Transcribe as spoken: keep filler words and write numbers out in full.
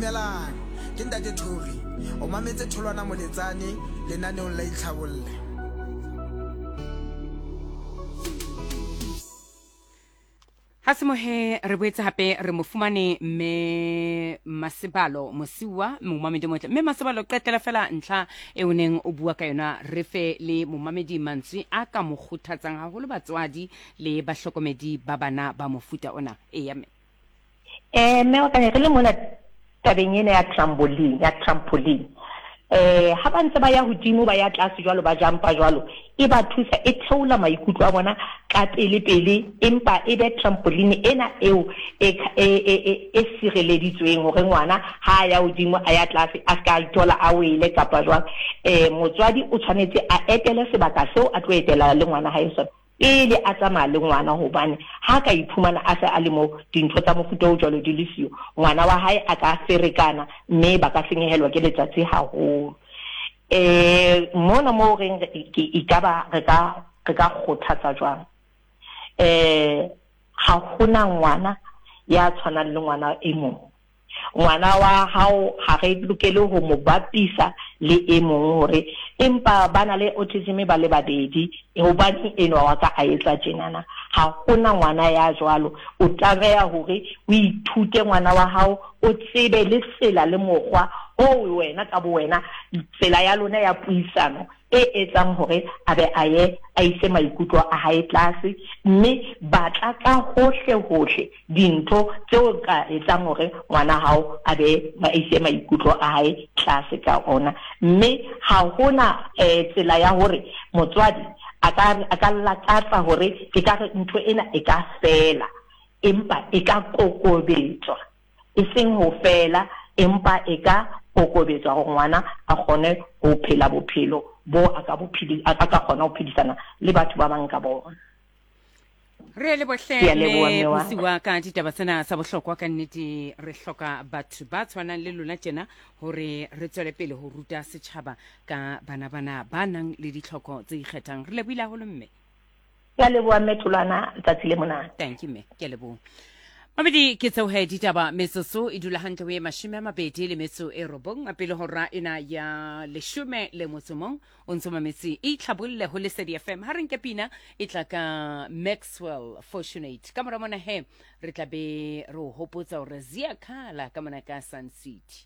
Dumelang, ke Ntate Thori. O mametse Tholwana Moletsane lenaneong la Itlhabolle. Ha se mohe re boetse hape re mo fumane mme Masebalo Mosiuwa, momamedi motle. Mme Masebalo, qetela fela ntlha e o neng o bua ka yona, re fe le momamedi mantswe a ka mo kgothatsang haholo batswadi le bahlokomedi ba bana ba mofuta ona. Eya mme. Eh mme wa ka, re le mona tabeng ena ya trampoline, ya trampoline. Eh ha ba ntse ba ya hodimo ba ya tlase jwalo, ba jumpa jwalo, e ba thusa, e theola maikutlo a bona ka pele pele, empa e be trampoline ena eo e e e e sireleditsweng hore ngwana ha a ya hodimo a ya tlase a ska ithola a wele kapa jwang. Eh motswadi o tshwanetse a etele sebaka seo a tlo etela le ngwana hae sona pele a tsamaya le ngwana, hobane ha ka iphumana a se a le mo dintho tsa mofuta o jwalo di le siyo, ngwana wa hae a ka ferekana mme ba ka senyehelwa ke letsatsi haholo. Eh mona mo reng ke ekaba re ka re ka kgothatsa jwang? Eh ha hona ngwana ya tshwanang le ngwana e mong. Ngwana wa hao ha re lokele ho mo bapisa le e mong hore empa ba na le autism ba le babedi, hobane enwa wa ka a etsa tjenana. Ha hona ngwana ya jwalo. O tlameha hore o ithute ngwana wa hao, o tsebe le tsela le mokgwa o wena ka bo wena, tsela ya lona ya puisano e etsang hore a be a ye a ise maikutlo a hae tlase, mme batla ka hohle hohle dintho tseo ka etsang hore ngwana hao a be a ise maikutlo a hae tlase ka ona. Mme ha hona eh, tsela ya hore motswadi a ka a ka lakatsa hore e ka re ntho ena e ka fela, empa e ka kokobetswa, e seng ho fela, empa e ka kokobetswa hore ngwana a kgone ho phela bophelo bo a ka bo phedi, a ka kgona ho phedisana le batho ba bang ka bona. Re le bohle Ke a leboha, mme mme wa. Mosiuwa ka ditaba tsena tsa bohlokwa. Ka nnete re hloka batho ba tshwanang le lona tjena hore re tswele pele ho ruta setjhaba ka bana bana ba nang le ditlhoko tse ikgethang. Re lebohile haholo mme. Ke a leboha mme Tholwana, letsatsi le monate. Thank you mme, ke a leboha. Mamedi ke tseo he ditaba, metsotso e dula hantle ho e mashome a mabedi le metso e robong pele hora ena ya leshome le motso mong. O ntso mametse Itlhabolle ho Lesedi F M. Ha re nke pina e tla ka Maxwell Fortunate. Ka mora mona he re tla be re o hopotsa hore Ziyakhala ka mona ka Sun City.